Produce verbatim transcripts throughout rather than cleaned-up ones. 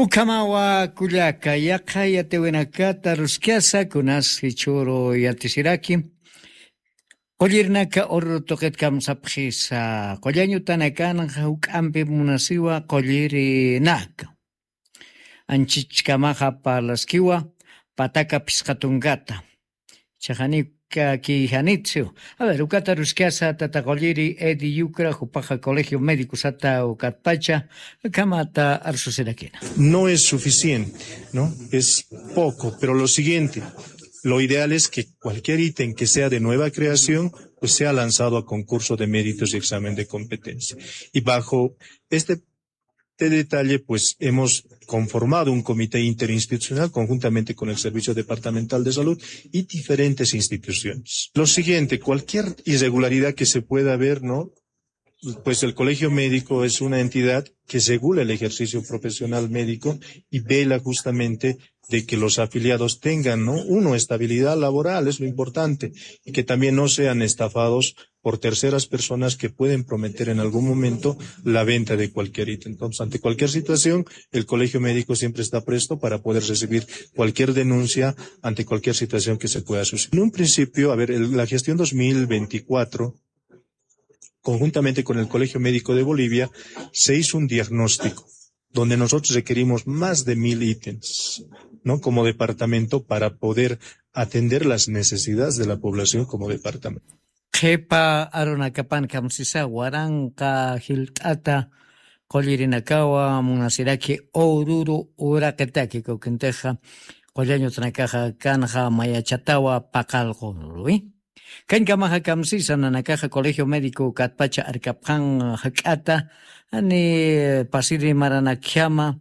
Ukhamawa kullaka, yaqha yatiwinakata ruskasa kunas jichhüru yatisiraki. Qullirinaka ururu tuqit kamsapxisa, qullañutanakanxa juk'ampi munasiwa qullirinaka. Anchichkamaxa parlaskiwa pataka phisqa tunkata. Chaxanika kijanitsu. A ver, ukata ruskasa tata qulliri Edi Yucra, jupaxa Colegio Médico sata ukatpacha, kamata arsusirakina. No es suficiente, ¿no? Es poco, pero lo siguiente, lo ideal es que cualquier ítem que sea de nueva creación, pues sea lanzado a concurso de méritos y examen de competencia. Y bajo este detalle, pues hemos conformado un comité interinstitucional conjuntamente con el Servicio Departamental de Salud y diferentes instituciones. Lo siguiente, cualquier irregularidad que se pueda ver, ¿no? Pues el colegio médico es una entidad que regula el ejercicio profesional médico y vela justamente de que los afiliados tengan, ¿no? Uno, estabilidad laboral, es lo importante, y que también no sean estafados por terceras personas que pueden prometer en algún momento la venta de cualquier ítem. Entonces, ante cualquier situación, el colegio médico siempre está presto para poder recibir cualquier denuncia ante cualquier situación que se pueda suscitar. En un principio, a ver, el- la gestión dos mil veinticuatro, conjuntamente con el Colegio Médico de Bolivia, se hizo un diagnóstico donde nosotros requerimos más de mil ítems, ¿no? Como departamento para poder atender las necesidades de la población como departamento. Qhipa arunakapan kamsisa waranqa jilt'ata qullirinakawa munasiraki ururu uraqitaki, kawkintixa qullañutanakaxa kanxa mayachatawa paqallqurwi. Kankamaxa kamsisa nanakaxa Colegio Médico katpacha arkapxan jak'ata, ani pasiri maranakjama,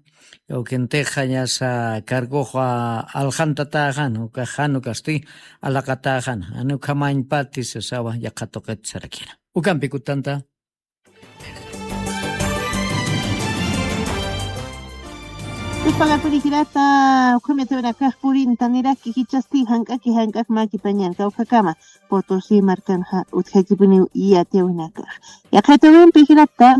kawkintixa ñasa cargoxa alxantatäxan, ukax jan ukasti alaqatäxan, ani ukhamañpati sasawa yaqha tuqit sarakina. Ukampi kutanta. Tuspagapuni jirata, ukham yatiwinakax purintaniraki, jichhasti jank'aki jank'ak makipañan kawkhakama Potosí markanxa utjakipuniw yatiwinakax. Yaqha yatiwimpi jirata,